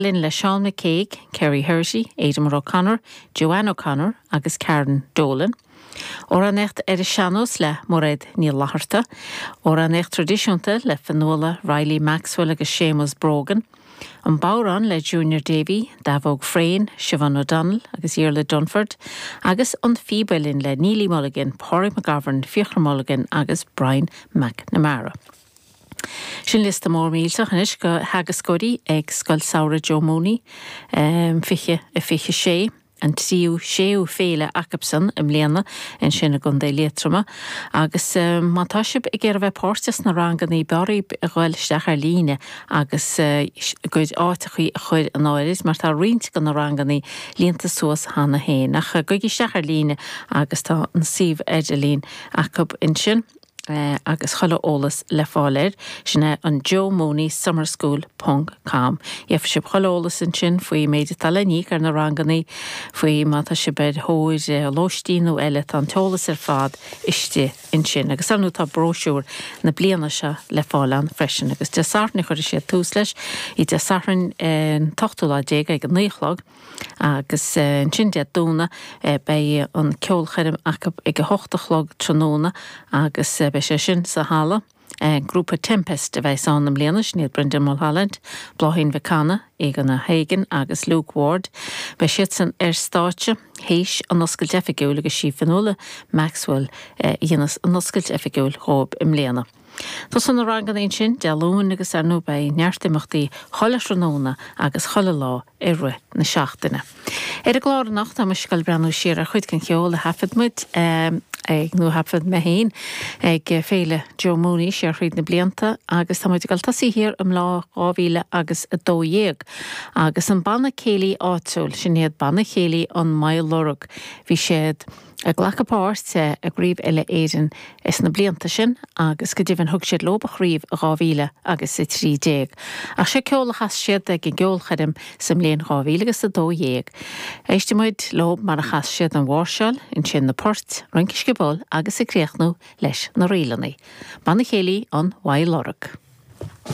Linn le Seán McCague, Kerry Herity, Aidan O'Connor, Joanne O'Connor agus Karen Dolan. Amhránaíocht ar an sean-nós le Mairéad Ní Fhlatharta. Amhránaíocht traidisiúnta le Fionnuala Reilly Maxwell agus Séamus Brogan. An Bodhrán le Junior Davey, Daibheog Freyne, Siobhán O'Donnell agus Iarla Dunford agus An Phíb Uilleann le Neilí Mulligan, Pádraig McGovern, Fiachra Mulligan agus Brian McNamara. Sin liosta mór millteach anois de theagascóirí ag Scoil Samhraidh Joe Mooney, 20 a 26, an tríú séú féile acubsan i mbliana ansin i gContae Liatroma. Agus má tá sibh ag iarraidh bheith páirteach sna rangannaí b'fhearr dhaoib a ghoil isteach ar líne agus a gcuid áiteachaí a chur in áirid mar tá roinnt de na rangannaí líonta suas cheana féin. Ach gabhaigí isteach ar líne agus tá an suíomh idirlín acub ansin. agus chuile eolas le fáil air, sin é an Joe Mooney Summer School ponc com. Gheobhaidh sibh chuile eolas ansin faoi méid atá le n-íoc ar na rangannaí, faoi má tá sibh ar thóir lóistín nó eile, tá an t-eolas ar fad istigh ansin. Agus ar ndóigh tá bróisiúr na bliana seo le fáil ann freisin. Agus Dé Sathairn a chuirfidh siad tús leis, Dé Sathairn an t-ochtú lá déag ag a naoi a chlog. Agus ansin Dé Domhnaigh beidh an ceolchoirm acu ag a hocht a chlog tráthnóna agus beidh sé sin sa halla. Grúpa Tempest a bheas ann i mbliana, sin iad Brendan Mulholland, Bláithín Mhic Cana, Eoghan O'Hagan agus Luke Ward. Beidh siadsan ar stáitse théis an oscailt oifigiúil agus sí Fionnuala Maxwell a dhéanas an oscailt oifigiúil dhóibh i mbliana. Tosaíonn na ranganna ansin Dé Luain agus ar ndóigh beidh neart imeachtaí chuile thráthnóna agus chuile lá i rith na seachtaine. Ar an gclár anocht tá muid ag dul breathnú siar ar chuid den cheol a thaifead muid ag, nó a thaifead mé féin, ag Féile Joe Mooney siar thríd na blianta agus tá muid ag dul tosaí thiar i mbliain 2000 agus 12 agus an banna céilí áitiúil, sin iad Banna Céilí an Maigh Lorg, bhí siad. ag glacadh páirt i gCraobh Uile Éireann sna blianta sin agus go deimhin thug siad leob an chraobh i 2000 agus 13. Ach seo ceol a chas siad ag an gceolchoirm sa mbliain 2000 agus 12. Éistfidh muid leob mar a chas siad an mháirseáil, ansin na poirt, rince sciobóil agus ag críochnú leis na ríleanna. Banna Céilí an Mhaigh Lorg.